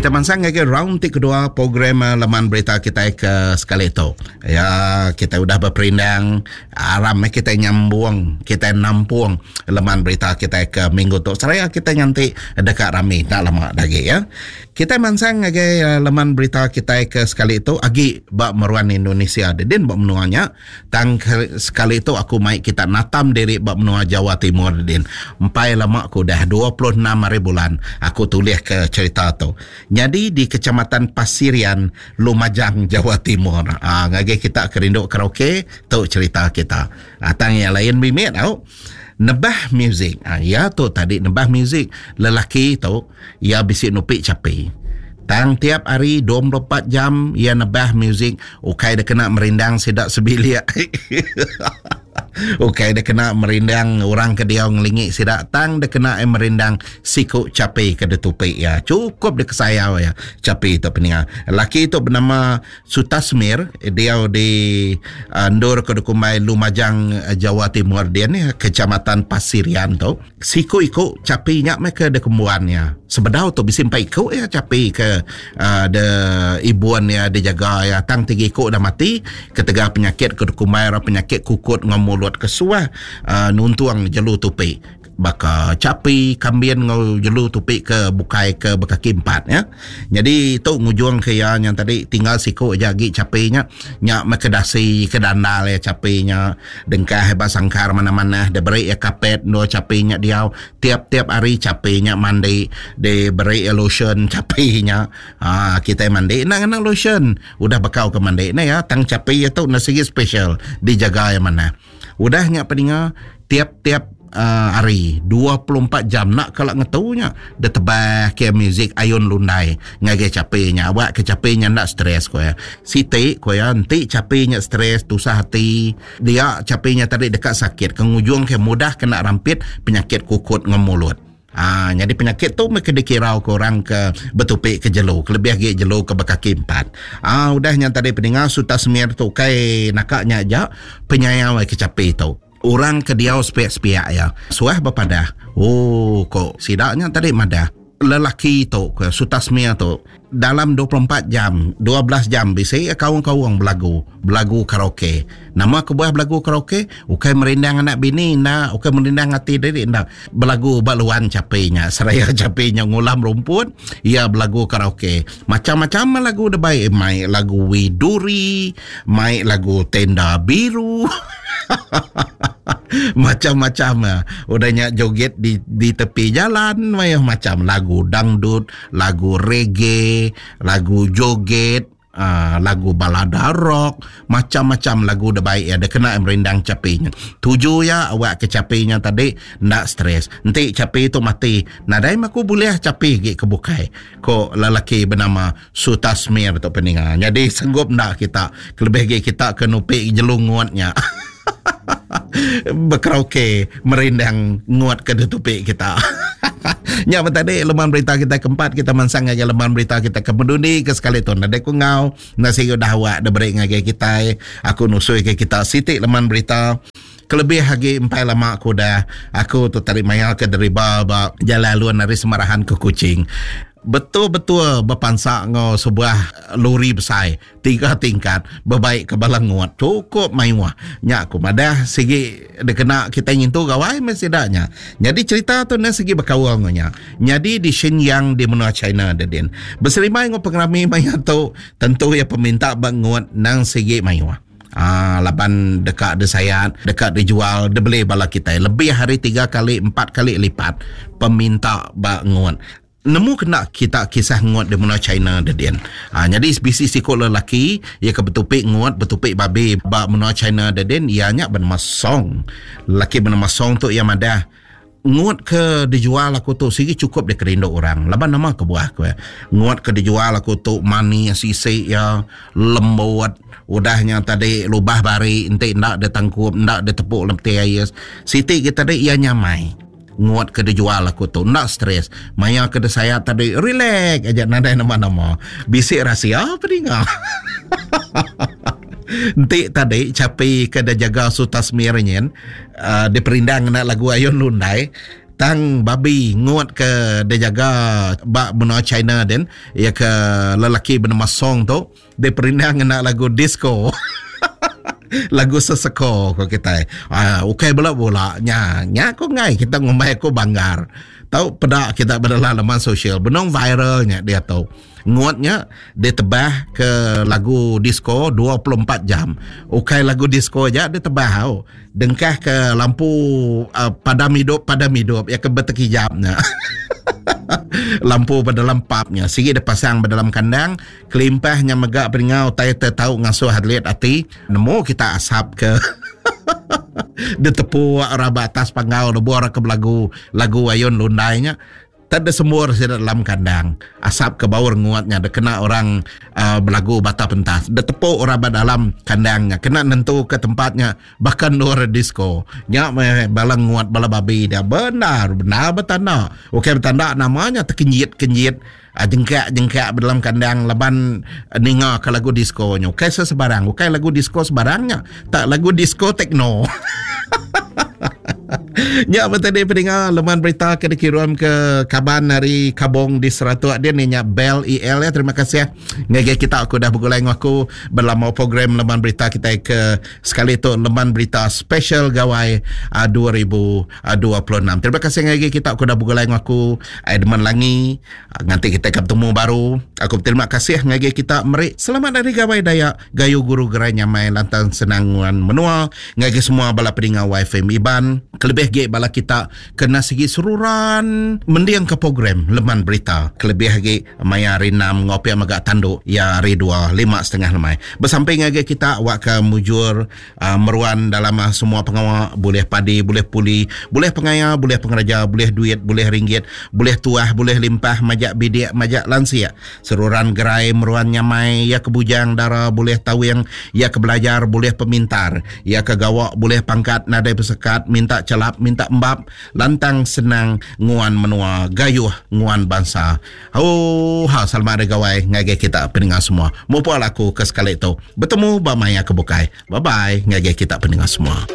Kita mansang ngagai round ti kedua program eh, laman berita kita ke sekali tu. Ya, kita udah beperindang, aram eh kita nyambung, kita nampung laman berita kita ke minggu tu. Seraya kita nganti deka rami tak lama lagi ya. Kita mansang ngagai eh, laman berita kita ke sekali tu agi ba meruan Indonesia. Dedin ba menua nya. Tang sekali tu aku mai kita natam diri ba menua Jawa Timur din. Empai lama ku udah 26 hari bulan aku tulih ke cherita tu. Nyadi di Kecamatan Pasirian, Lumajang, Jawa Timur. Aa ngagai kita ke rindu karaoke tu cherita kita. Aa tang iya lain mimit au. Nebah music. Aa iya tu tadi nebah music lelaki tu iya bisi nupi chapi. Tang tiap hari 24 jam iya nebah muzik ukai da kena merindang sida sebilik. ukai da kena merindang orang ke diau ngelingi sida tang da kena iya merindang siku chapi ke ditupi iya. Chukup dikesayau iya chapi tu peninga. Laki tu benama Sutasmir diau di endur ke dikumbai Lumajang Jawa Timur din Kecamatan Pasirian tu. Siku iku chapi nya meh ke dikembuan iya. Sebedau tu bisi empai iku iya chapi ke uhh de ibun iya dijaga iya tang tiga iku udah mati ketegal penyakit ke dikumbai orang penyakit kukut enggau mulut ke suah uhh nuntung jelu tupi baka chapi, kambin enggau jelu tupi ke bukai ke bekaki empat ya. Nyadi tu ngujung ke iya nya tadi tinggal siku aja agi chapi nya. Nya meh ke dasi ke dandal iya chapi nya. Dengkah ba sangkar manah-manah diberi iya kapet endur chapi nya diau. Tiap-tiap hari chapi nya mandi diberi iya lotion chapi nya. Haa kitai mandi enda ngena lotion. Udah bekau ke mandi neh iya tang chapi iya tu enda sigi special dijaga iya manah. Udah nya peninga tiap-tiap hari 24 jam enda kala ngetu nya ditebah ke muzik ayun lundai ngagai chapi nya awak ke chapi nya enda stress ku iya. Siti ku iya enti chapi nya stress tusah ati dia chapi nya tadi deka sakit ke ngujung ke mudah kena rampit penyakit kukut enggau mulut. Aa nyadi penyakit tu meh ke dikirau ke orang ke betupi ke jelu kelebih agi jelu ke bekaki empat. Aa udah nya tadi peninga Sutasmir tu ukai naka nya aja penyayau ke chapi tu. Orang ke diau sepiak-sepiak iya suah bepadah, Oh ko sida nya tadi madah lelaki tu ke Sutasmir tu dalam 24 jam, 12 jam bisi iya kaung-kaung belagu, belagu karaoke. Nama kebuah belagu karaoke? Ukai merindang anak bini enda, ukai merindang ati diri enda. Belagu ba luan chapi nya. Seraya chapi nya ngulam rumput, iya belagu karaoke. Macam-macam lagu dibai, mai lagu Widuri, mai lagu Tenda Biru. Macam-macam ah. Udah nya joget di di tepi jalan mayuh macam lagu dangdut, lagu reggae, lagu joget, uh, lagu balada rock, macam-macam lagu da baik ya da kena merindang chapi nya. Tuju ya awak ke chapi nya tadi enda stres. Enti chapi tu mati, nadai meh aku bulih chapi agi ke bukai. Ko lelaki benama Sutasmir tu peninga. Nyadi sanggup enda kita kelebih agi kita ke nupi jelu ngut nya. Bekaraoke merindang ngut ke ditupi kita. Nya meh tadi leman berita kita keempat kita mansang ngagai leman berita kita ke pendundi ke sekali tu nadai ku enggau enda sigi udah awak diberi ngagai kitai aku nusui ke kita siti leman berita kelebih agi empai lama ku udah aku tu tadi maya ke deriba ba jalai alun ari Semarahan ke Kuching. Betul-betul bepansa enggau sebuah lori besai tiga tingkat bebaik ke bala ngut chukup mayuh. Nya ku madah sigi dikena kitai ngintu gawai meh sida nya. Nyadi cherita tu enda sigi bekaul enggau nya. Nyadi di Shenyang di menua China dedin. Beserimbai enggau pengerami maya tu tentu iya peminta ba ngut nang sigi mayuh. Aa laban deka disayat, deka dijual, dibeli bala kitai lebih ari tiga kali empat kali lipat peminta ba ngut. Nemu kena kita kisah ngut di menua China dedin. Aa nyadi bisi siku lelaki iya ke betupi ngut, betupi babi ba menua China dedin iya nya benama Song. Lelaki benama Song tu iya madah ngut ke dijual aku tu sigi chukup dikerindu orang laban nama kebuah ku iya. Ngut ke dijual aku tu manis isi iya, lembut, udah nya tadi lubah bari enti enda ditangkup enda ditepu lemti ais. Siti ke tadi iya nyamai. Ngut ke dijual aku tu enda stres. Maya ke disayat tadi relax aja nadai nama-nama. Bisi rahsia peninga. Enti tadi chapi ke dijaga Sutasmir nyin uh, diperindang ngena lagu Ayun Lundai. Tang babi ngut ke dijaga ba menua China din iya ke lelaki benama Song tu diperindang ngena lagu disco. Lagu seseko ko kitai. Ah ukai bela bula nya. Nya ko ngai kita ngumbai aku banggar. Tau peda kita ba dalam laman sosial benung viral nya diatu. Ngut nya ditebah ke lagu disco 24 jam. Ukai lagu disco aja ditebah au. Dengkah ke lampu uh, padam hidup padam hidup ya ke betekijap nya. lampu ba dalam pub nya sigi dipasang ba dalam kandang kelimpah nya mega peninga utai te tau ngasuh atlet ati nemu kita asap ke ditepu orang ba atas panggau lebuh orang ke belagu lagu ayun lundai nya Tang deh sembur sida dalam kandang. Asap ke baur nguat nya dikena orang uh, belagu bata pentas. Ditepuk orang ba dalam kandang nya kena nentuka tempat nya baka endur disco. Nya meh bala nguat bala babi dia bendar bendar betanda. Ukai betanda nama nya tekenjit-kenjit uh, jengkak-jengkak ba dalam kandang laban ninga ke lagu disco nya. Ukai sesebarang, ukai lagu disco sebarang nya. Tak lagu disco techno. Nya ba tadi peninga leman berita ke dikirum ke kaban ari Kabong di Seratuk dia ni nya Bell EL ya. Terima kasih ngagai kita aku dah begulai enggau aku belama program leman berita kita ke sekali tu leman berita special Gawai 2026. Terima kasih ngagai kita aku dah begulai enggau aku Edmund Langi. Nganti kita ke betemu baru. Aku berterima kasih ngagai kita meri selamat hari Gawai Dayak. Gayu guru gerai nyamai lantang senang nguan menua ngagai semua bala peninga YFM Iban. Kelebih agi bala kita kena sigi seruran mending ke program Leman Berita. Kelebih agi maya hari enam enggau pia mega tandu iya hari dua 5.30 lemai. Besampi ngagai kita awakka mujur meruan dalam semua pengawa bulih padi bulih puli bulih pengaya bulih pengeraja bulih duit bulih ringgit bulih tuah bulih limpah majak bidik majak lansik seruran gerai meruan nyamai iya ke bujang dara bulih tawing iya ke belajar bulih pemintar iya ke gawa bulih pangkat nadai besekat minta chelap minta embap lantang senang nguan menua gayuh nguan bansa. Oohaa selamat hari gawai ngagai kita peninga semua. Mupuk aku ke sekali tu. Betemu ba maya ke bukai. Bye bye ngagai kita peninga semua.